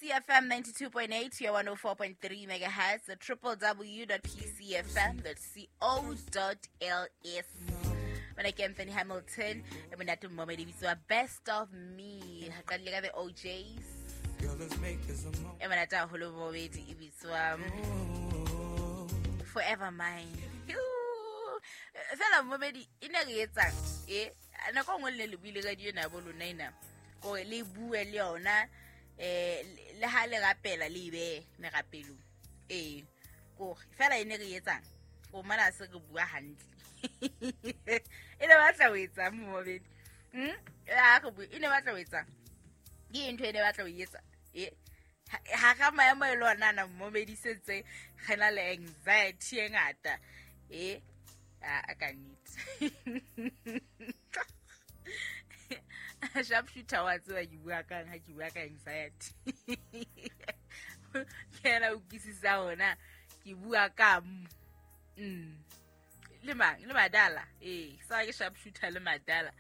PCFM 92.8 ya 104.3 megahertz, www.pcfm.co.ls. Mona ke Anthony Hamilton, e monate mmomedi bitswa Best of Me. Ha qadile ka the OJs. Girl, let's make this a moment. E monate haholo mmomedi e bitswa Forever Mine. Yoo. Fela mmomedi e ne re etsang e nako e nngwe le ne le buile ka dio ena bo lona ena kore le bue le yona le ha le rapela le ebe merapelong ee kore fela e ne re etsang o mona se re bua hantle e ne batla ho etsang momedi ha re bue e ne batla ho etsang ke ntho e ne batla ho etsa e ha ga maemo e le ona na momedi sentse re na le anxiety e ngata e a ka nnete. Sharpshooter wa tseba ke bua kang ha ke bua ka anxiety. Ke yena o utlwisisa hona ke bua ka le mang le madala ee sa ke sharpshooter le madala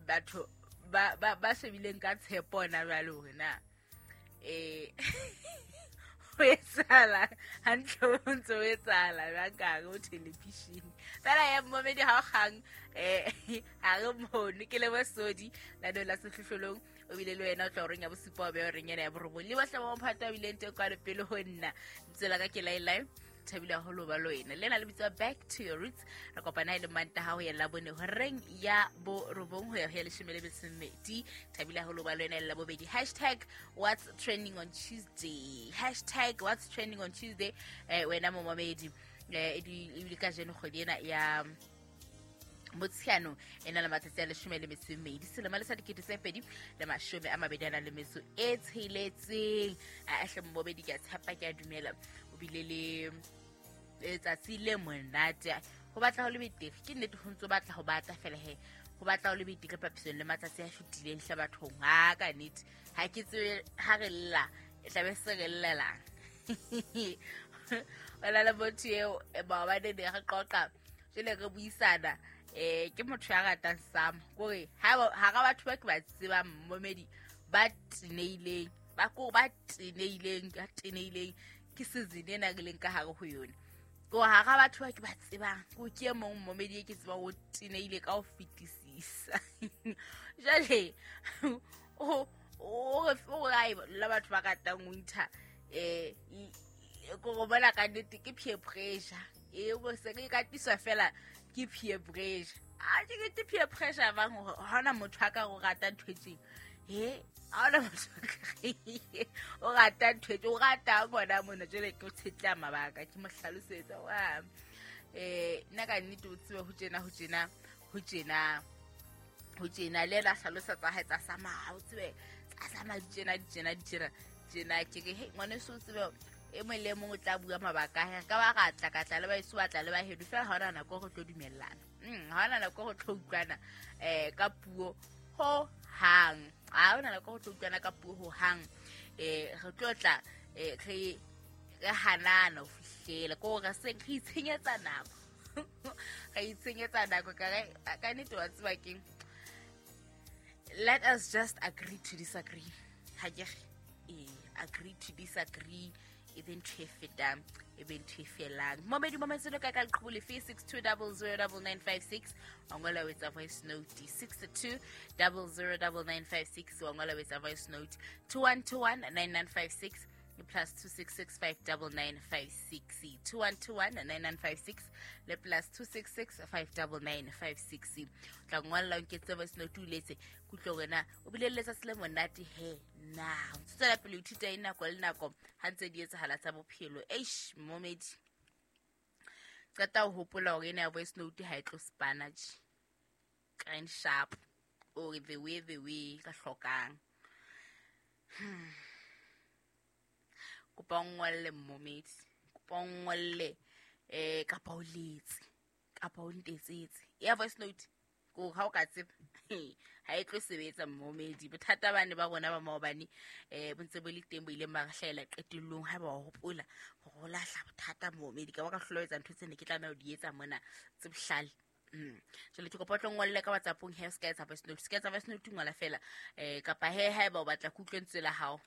batho ba ba ba shebileng ka tshepo ona jwale hore na ho etsahala hantle ho ntse ho etsahala jwang ka hare ho television. Fela ya momedi ha o kgang ha re mono ke le bosodi la la sehlohlolong o bile le wena o tla horeng ya bosupa o be horeng ena ya borobong le bohle ba mophato a bileng teng kwano pele ho nna lebitso la ka ke Lailai thabile haholo ba le wena le na le bitswa Back to Your Roots. Re kopana e le Mantaha ho ya Labone horeng ya borobong ho ya ho ya leshome le metso e mmedi. Thabile haholo ba le wena le Labobedi. Hashtag what's trending on Tuesday, hashtag what's trending on Tuesday. Wena momamedi ebile kajeno kgwedi ena ya Motsheanong e na le matsatsi a leshome le metso e mmedi selemo le sa 2026. A hle mmobedi ke a tshepa ke a dumela o bile le letsatsi le monate. Ho batla ho le betere ke nnete ho ntso batla ho batla fela he ho batla ho le betere papisong le matsatsi a fetileng hle bathong. Ha ka nnete ha ke tsebe ha re lla e tlabe se re llelang. Wena le motho eo maobane ne re qoqa jwale re buisana ke motho ya ratang sama kore hara batho ba ke ba tsebang momedi ba teneileng ba ko ba teneileng ka teneileng ke season ena re leng ka hare ho yona. Ko hara batho ba ke ba tsebang ko ke e mong momedi e ke tsebang o teneile ka ho fetisisa. Jwale o re la batho ba ratang winter ko go bona ka nnete ke peer pressure e bo se ke ka tiswa fela ke peer pressure. A ke ke peer pressure bang hore ha hona motho a ka o rata ntho e tjeng he ha hona motho o rata ntho e o rata ngwana mona jwale ke o tshetla mabaka ke mo hlalosetsa wa nna ka nnete o tsebe ho tjena ho tjena ho tjena ho tjena le la hlalosa tsa hae tsa sama o tsebe tsa sama di tjena di tjena di tjena tjena ke re he ngwaneso o tsebe e mong le mong o tla bua mabaka a hae. Ka ba ra tla ka tla le baeso ba tla le ba hedo fela ha hona nako re tlo dumellana. Ha hona nako re tlo utlwana ka puo ho hang. Ha hona nako re tlo utlwana ka puo ho hang. Re tlo tla re hanana ho fihlela ko re se re itshenyetsa nako. Re itshenyetsa nako ka re ka nnete wa tseba keng. Let us just agree to disagree. Ha ke re agree to disagree. E be ntho e fetang e be ntho e felang. Momedi mometselo ka ka leqhubu lefe 62009956 wa ngola o etsa voice note 62009956 wa ngola o etsa voice note 21219956 plus 266599956 21219956 le plus 266599956. Tla ngolla o nketse voice note o letse kutlwe hore na o bile le letsatsi le monate he na o tswela pele ho ithuta e nako le nako ha ntse di etsahala tsa bophelo. Eish momedi qeta ho hopola hore ena ya voice note ha e tlo spana tje kind sharp or the way ka hlokang. Kopa o ngolle momedi, kopa o ngolle kapa o letse kapa o ntetsetse ya voice note ko ha o ka tseba ha e tlo sebetsa momedi. Bothata bane ba rona ba maobane bo ntse bo le teng bo ileng ba re hlahela qetellong ha ba o hopola hore o lahla bothata momedi ka ba ka hlola etsa ntho tse ne ke tlameha ho di etsa mona tse bohlale. Jwale ke kopa o tlo ngolle ka WhatsApp-ong he o ska etsa voice note, ska etsa voice note ngola fela kapa he haeba o batla ke utlwe lentswe la hao.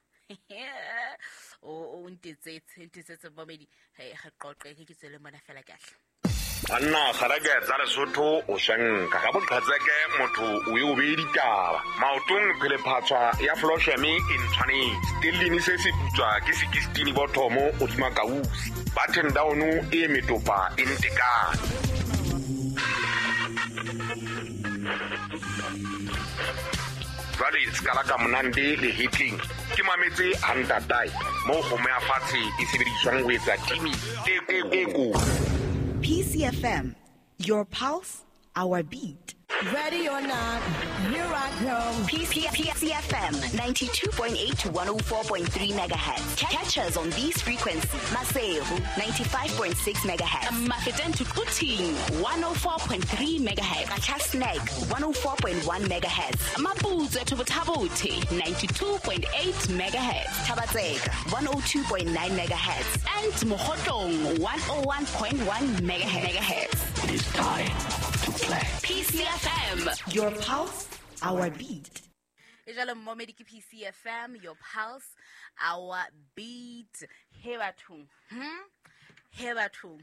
O ntetsetse momedi he re qoqe ke tswele mona fela kahle. Anna kgarake tsa Lesotho o shanka ka boqhatseke motho o e o be ditaba maotong phele phatswa ya flosheme e ntshwanetse tellini se se putswa ke 16 bothomo o dima kausi button down e metopa e ntekane. Jwale skala ka monande le hitling ke mametse hantatai mo kgomo ya fatshe e sebediswang ho etsa timi teko. PCFM, your pulse, our beat. Ready or not, here I come. PCFM, 92.8 to 104.3 megahertz. Catch us on these frequencies. Maseru, 95.6 megahertz. Mafeteng to Quthing, 104.3 megahertz. Qacha's Nek, 104.1 megahertz. Maputswe to Botha-Bothe, 92.8 megahertz. Thaba-Tseka, 102.9 megahertz. And Mokhotlong, 101.1 megahertz. It is time to play. PCFM, your pulse, our beat. E jalo momedi ke PCFM, your pulse, our beat. He bathong. He bathong.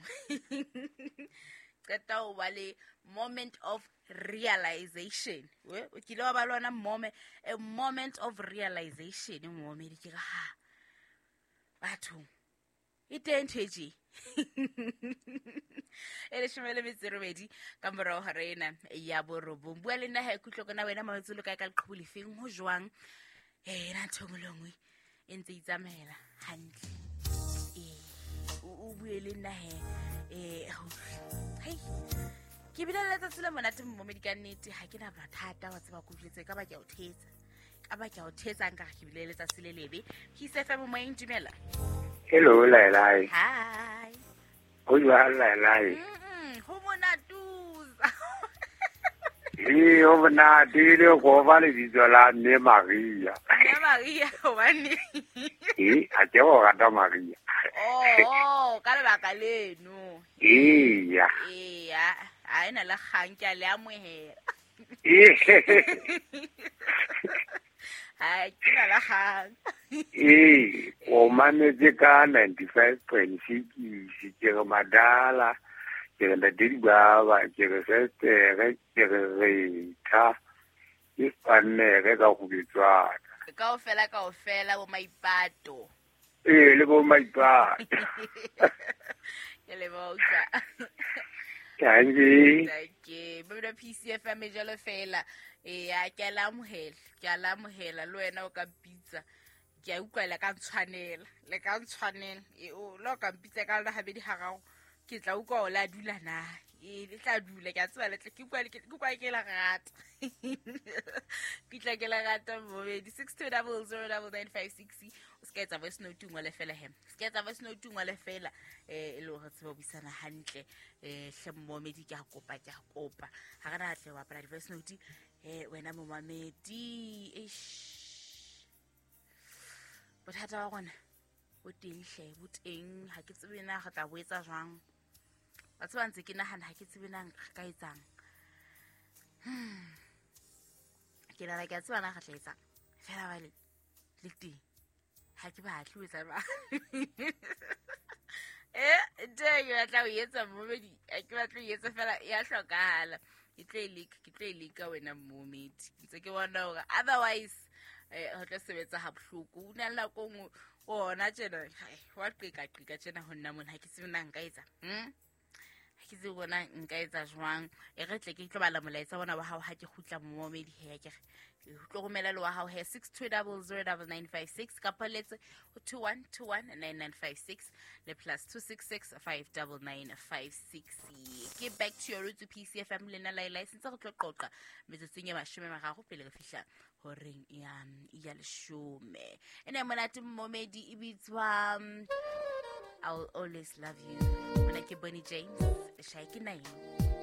Qeta o ba le moment of realization. O kile wa ba lona moment, a moment of realization momedi ke ha. Bathong. E teng ntho e tje. E leshome le metso e robedi ka morao hora ena ya borobong. Bua le nna ha ikutlwe kona wena mametse lo kae ka leqhubu lefeng ho jwang. Na ntho engwe le engwe e ntse itsamaela hantle. O bue le nna he. Hei. Ke bile le letsatsi le monate momedi ka nnete ha ke na bothata wa tseba ko jwetse ka ba ke a o thetsa. Ka ba ke a o thetsa nka ke bile le letsatsi le lebe. PCFM moyeng dumela. Hello, Lailai. Hi. Ho jwang, Lailai? Ho monatuza. Ee, ho monate le go ba lebitso la mme Maria. Mme Maria, hobane? Ee, ha ke go rata Maria. Oh, ka lebaka leno. Eya. Eya, ha ena le kgang ke a le amohela. Ee. Ha ke na le kgang. Ee, o mametse ka 95.6 ke re madala, ke re ntate Dibaba, ke re Sestere, ke re Retha, ke Spannere ka go bitswana. Kaofela kaofela bo maipato. Ee, le bo maipato. Ke le botsa. Thank you. Ba PCFM e jalo fela. Ee, ke a la amohela, ke a la amohela le wena o ka mpitsa. Ke a utlwa le ka ntshwanela, le ka ntshwanela. E o lo ka mpitsa ka lona habedi hararo, ke tla utlwa o la dula na. E le tla dula ke a tseba le ke utlwa ke la rata. Ke tla ke la rata momedi 62009956. O ska etsa voice note ngwe le fela he. Ska etsa voice note ngwe le fela e le hore tsebe buisana hantle. Hle momedi ke a kopa ke a kopa. Ha re na tle wa bapala voice note wena momamedi. Eish. Bothata ba rona bo teng hle, bo teng ha ke tsebe na re tla bo etsa jwang. Ba tseba ntse ke nahana ha ke tsebe na re ka etsang. Ke nahana ke a tseba na re tla etsang. Fela ba le teng. Ha ke batle ho etsa ba. Ntho e ke batla ho etsa momedi, ha ke batle ho etsa fela ya hlokahala. Ke tlo e leka, ke tlo e leka wena momedi. Ntse ke bona hore otherwise ho tla sebetsa ha bohloko. O na le nako nngwe ona tjena, wa qeka qeka tjena ho nna mona ha ke tsebe na nka etsa. Ha ke tsebe bona nka etsa jwang. E re tle ke tlo bala molaetsa bona wa hao ha ke kgutla momedi he ke re. O tlo romela le wa hao he 62009956 kapa letse ho 21219956 le plus 266 59956. Ke back to your roots PCFM le nna Lailai sentse re tlo qoqa metsotsong e 13 pele re fihla horeng ya leshome. Ene monate momedi e bitswa I'll Always Love You. Mona ke Bonnie James, le Shaiki Naim.